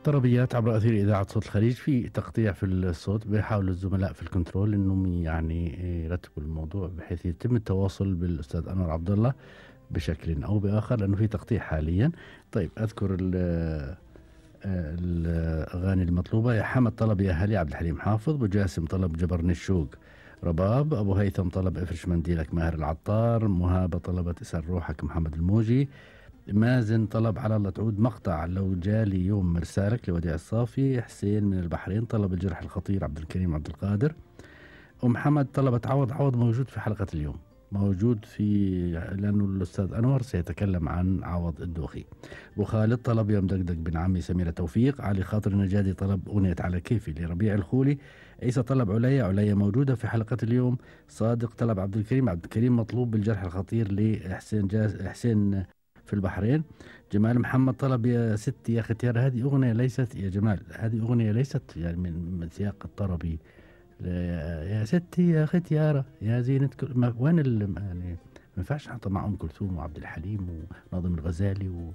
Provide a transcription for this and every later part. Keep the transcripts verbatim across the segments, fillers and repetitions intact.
طربيات عبر أثير إذاعة صوت الخليج، في تقطيع في الصوت، بيحاولوا الزملاء في الكنترول إنهم يعني يرتبوا الموضوع بحيث يتم التواصل بالأستاذ أنور عبد الله بشكل أو بآخر، لأنه في تقطيع حاليا. طيب أذكر ال- الأغاني المطلوبة. يا حمد طلب يا هلي عبد الحليم حافظ، أبو جاسم طلب جبرني الشوق رباب، أبو هيثم طلب افرش منديلك ماهر العطار، مهابة طلبت اسأل روحك محمد الموجي، مازن طلب على الله تعود مقطع لو جالي يوم مرسالك لوديع الصافي، حسين من البحرين طلب الجرح الخطير عبد الكريم عبد القادر، أم حمد طلبت عوض. عوض موجود في حلقة اليوم، موجود في، لأنه الأستاذ أنور سيتكلم عن عوض الدوخي. أبو خالد طلب يوم دقدق بن عمي سميرة توفيق، علي خاطر النجادي طلب أغنية على كيفي لربيع الخولي، عيسى طلب عليا، عليا موجودة في حلقة اليوم، صادق طلب عبد الكريم، عبد الكريم مطلوب بالجرح الخطير لحسين جاز حسين في البحرين. جمال محمد طلب يا ستي يا ختيار، هذه أغنية ليست يا جمال، هذه أغنية ليست يعني من, من سياق الطربي. يا ستي يا ختيارة يا زينة كل ما وين ال يعني ما ينفعش نحطها مع أم كلثوم وعبد الحليم وناظم الغزالي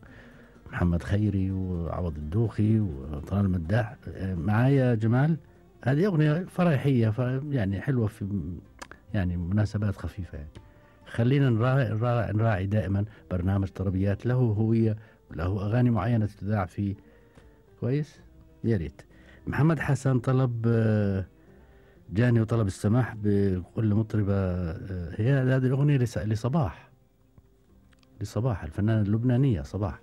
ومحمد خيري وعوض الدوخي وطلال المداح معايا جمال. هذه أغنية فرحية يعني حلوة في يعني مناسبات خفيفة يعني. خلينا نراعي, نراعي, نراعي دائما برنامج طربيات له هوية وله أغاني معينة تذاع فيه كويس. يا ريت. محمد حسن طلب جاني وطلب السماح بكل مطربة، هي هذه الأغنية لصباح لصباح الفنانة اللبنانية صباح.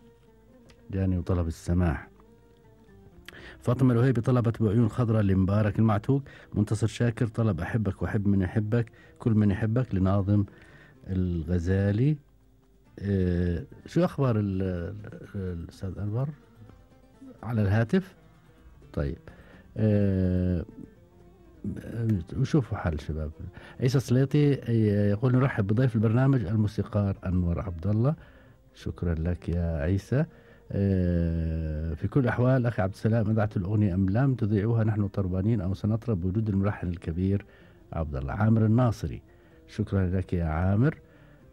جاني وطلب السماح. فاطمة الوهيبي طلبت بعيون خضراء لمبارك المعتوق. منتصر شاكر طلب أحبك وأحب من يحبك كل من يحبك لناظم الغزالي. إيه شو أخبار الأستاذ أنور على الهاتف؟ طيب إيه وشوفوا حال شباب. عيسى سليطي يقول نرحب بضيف البرنامج الموسيقار أنور عبد الله. شكرا لك يا عيسى. في كل الأحوال أخي عبد السلام، أذعت الأغنية أم لم تذيعوها نحن طربانين أو سنطرب بوجود الملحن الكبير عبد الله. عامر الناصري، شكرا لك يا عامر.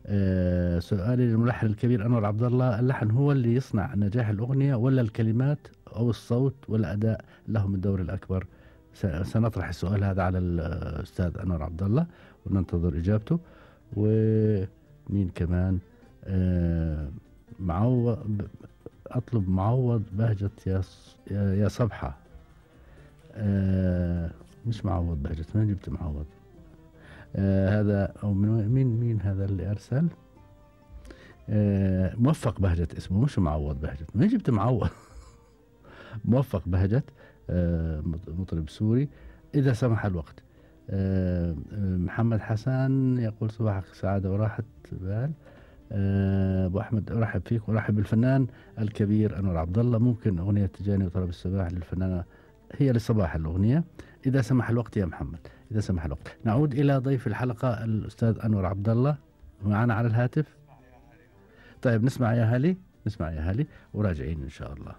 أه سؤالي للملحن الكبير أنور عبد الله، اللحن هو اللي يصنع نجاح الأغنية ولا الكلمات أو الصوت والأداء لهم الدور الأكبر؟ سنطرح السؤال هذا على الأستاذ أنور عبد الله وننتظر إجابته. ومين كمان؟ أه معوض، أطلب معوض بهجة يا يا صبحة. أه مش معوض بهجة، ما جبت معوض. أه هذا أو من مين مين هذا اللي أرسل؟ أه موفق بهجة اسمه، مش معوض بهجة، ما جبت معوض. موفق بهجة، أه مطرب سوري إذا سمح الوقت. أه محمد حسن يقول صباحك سعادة وراحة بال. أبو أحمد أرحب فيك وأرحب بالفنان الكبير أنور عبد الله. ممكن أغنية تجاني وطلب السماح للفنانة، هي لصباح الأغنية إذا سمح الوقت يا محمد، إذا سمح الوقت. نعود إلى ضيف الحلقة الأستاذ أنور عبد الله معنا على الهاتف. طيب نسمع يا هالي، نسمع يا هالي وراجعين إن شاء الله.